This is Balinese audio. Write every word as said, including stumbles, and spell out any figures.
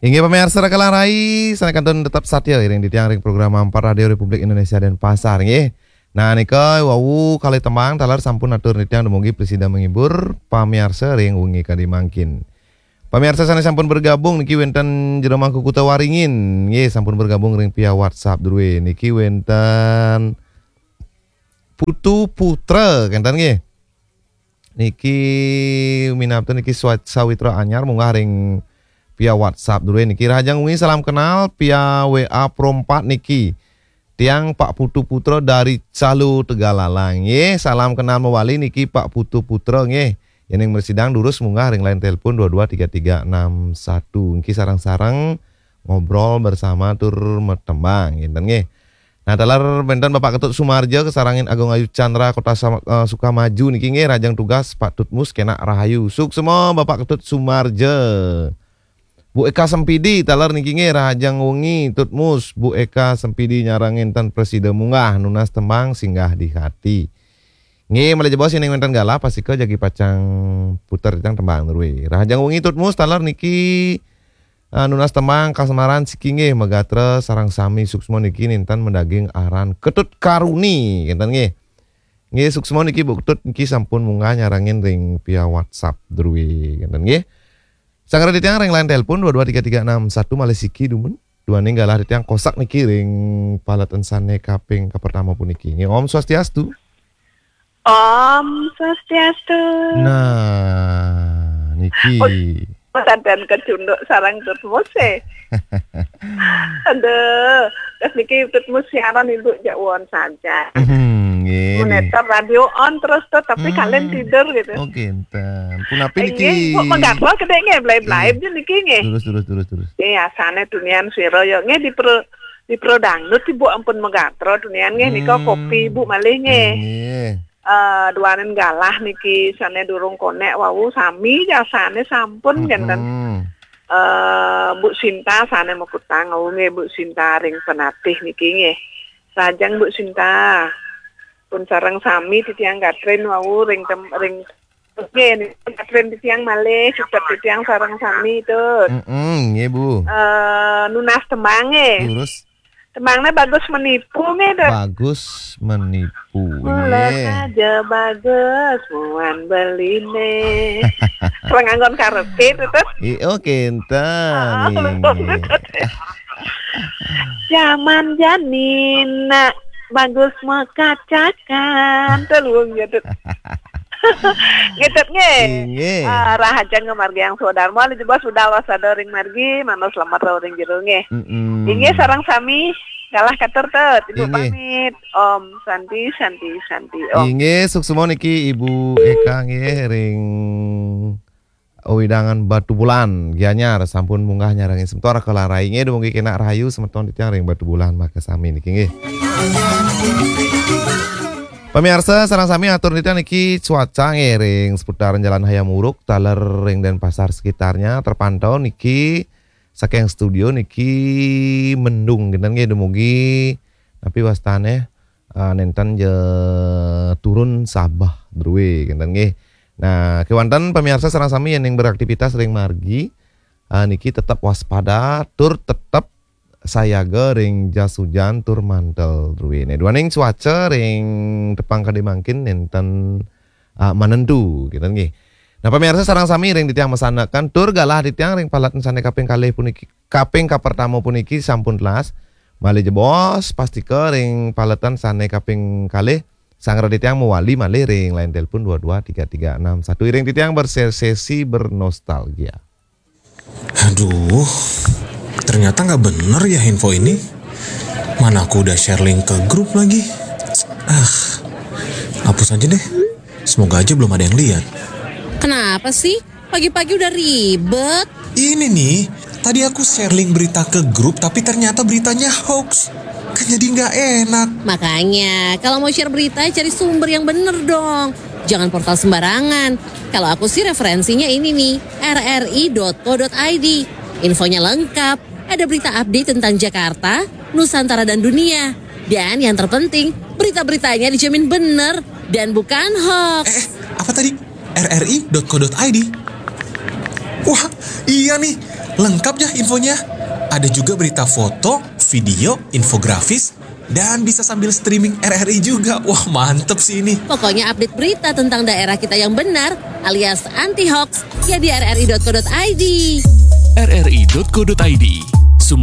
Inggih pamirsa, raka lan rai, sané kantun tetep satya iring titiang ring program Ampat Radio Republik Indonesia Denpasar, nggih. Nah, nika wau kalih tembang taler sampun atur titiang dumugi prasida menghibur pamirsa ring wengi kadi mangkin. Pamirsa sané sampun bergabung niki wénten Jero Mangku Kuta Waringin, nggih, sampun bergabung ring via WhatsApp drué. Niki wénten Putu Putra, kénten nggih. Niki minab niki swa-, sawitra anyar munggah ring via WhatsApp drué niki. Rahajeng wengi, salam kenal via W A Pro empat niki. Tiang Pak Putu Putra dari Calo Tegalalang. Nggih, salam kenal mawali niki Pak Putu Putra nggih. Yéning mresidang durus munggah ring line telepon dua dua tiga tiga enam satu. Niki sareng-sareng ngobrol bersama tur matembang, kénten nggih. Nah, taler wénten Bapak Ketut Sumarja, kasarengin Agung Ayu Chandra, Kota Sama-, eh, Sukamaju niki nggih, rahajeng tugas Pak Tutmus, kénak rahayu. Suksma Bapak Ketut Sumarja. Bu Eka Sempidi, taler niki nggih, rahajeng wengi Tutmus, Bu Eka Sempidi nyarengin tan prasida munggah, nunas tembang Singgah di Hati. Nggih, malih jebos yéning wénten galah, pastika jagi pacang puter titiang tembang drué. Rahajeng wengi Tutmus, taler niki, ah, nunas tembang Kasmaran Siki nggih, magatra sareng sami. Suksma niki nénten madaging aran Ketut Karuni, kénten nggih. Nggih, suksma niki Bu Ketut niki sampun munggah nyarengin ring via WhatsApp drué, kénten nggih. Sanggra titiang ring line telepon dua dua tiga tiga enam satu, malih siki dumun. Duaning galah titiang kosak niki ring paletan sané kaping kapertama puniki. Nggih, Om Swastiastu. Om Swastiastu. Nah, niki. Oh, sadan kecunduk sareng Tutmus, eh. Aduh, terus niki Tutmus siaran Ibu jak won saja. Hmm, nggih. Monitor radio on terus tuh, tapi Hmm. kalian tidur gitu. Oke, enten. Punapi Eh, niki? Nggih, Bu, magatra kedék nggih, blai-blai Hmm. niki nggih. Terus, terus, terus, terus. Nggih, asané tunian sira ya. Nggih, di pro, di pro dangdut Ibu ampun magatra tunian nggih, nika Hmm. kopi Ibu malih nggih. Nggih. Eh, duaning galah niki sané durung konek wau sami jasané sampun, hmm, kénten. Eh, Bu Sinta sané makutang wau nggih, Bu Sinta ring Penatih niki nggih. Rahajeng Bu Sinta. Pun sareng sami titiang Katrin wau ring tem-, ring nggih, niki Katrin titiang malih, tetep titiang sareng sami, Tut. Mm-mm, nggih, Bu. Eh, nunas tembang nggih. Terus? Tembangnya Bagus Menipu nggih, Dok. Bagus Menipu. Mula nggih. Saja bagus, muan beline. Kalau nganggon karaoke itu, Tut. I-, oh, kénten, ah, nggih, betul, nggih. Betul. Zaman jani nak bagus mekacakan. Tuh, luwung ya, Tut. Nggih, Tut, nggih. Inggih. Ah, rahajeng ngamargiang swadarma, malih jebos sudah wasada ring margi, manus slamet rauh ring jero nggih. Mm-mm. Inggih, sareng sami, galah katur, Tut. Ibu inggih. Pamit. Om Santi, Santi, Santi, Om. Inggih, suksma niki Ibu Eka nggih ring wewidangan Batubulan, Gianyar, sampun munggah nyarengin semeton raka lan rai nggih, dumugi kénak rahayu semeton titiang ring Batubulan makasami niki nggih. Pamirsa, sareng sami atur titiang niki cuaca nggih ring seputaran Jalan Hayam Wuruk, taler ring Denpasar sekitarnya terpantau niki saking studio niki mendung kénten nggih, dumugi napi wastané, eh, nénten ja turun sabeh drué kénten nggih. Nah, kéwanten pamirsa sareng sami yéning beraktivitas ring margi, eh, niki tetep waspada tur tetep sayaga ring jas hujan tur mantel druéné. Duaning cuaca ring tepang kadi mangkin nénten, ah, manentu, kénten nggih. Nah, pamirsa sareng sami ring titiang masandekan tur galah titiang ring paletan sané kaping kalih puniki, kaping kapertama puniki sampun telas. Malih jebos, pastika ring paletan sané kaping kalih, sanggra titiang mawali malih ring line telepon dua dua tiga tiga enam satu. Iring titiang bersesi bernostalgia. Aduh, ternyata nggak bener ya info ini. Mana aku udah share link ke grup lagi. Ah, hapus aja deh. Semoga aja belum ada yang lihat. Kenapa sih? Pagi-pagi udah ribet. Ini nih, tadi aku share link berita ke grup, tapi ternyata beritanya hoax. Kan jadi nggak enak. Makanya, kalau mau share berita, cari sumber yang bener dong. Jangan portal sembarangan. Kalau aku sih referensinya ini nih, R R I dot co dot I D. Infonya lengkap, ada berita update tentang Jakarta, Nusantara dan dunia. Dan yang terpenting, berita-beritanya dijamin bener dan bukan hoax. Eh, eh, apa tadi? R R I dot co dot I D. Wah, iya nih. Lengkap ya infonya. Ada juga berita foto, video, infografis, dan bisa sambil streaming R R I juga. Wah, mantep sih ini. Pokoknya update berita tentang daerah kita yang benar alias anti hoax ya di rri.co.id. rri.co.id,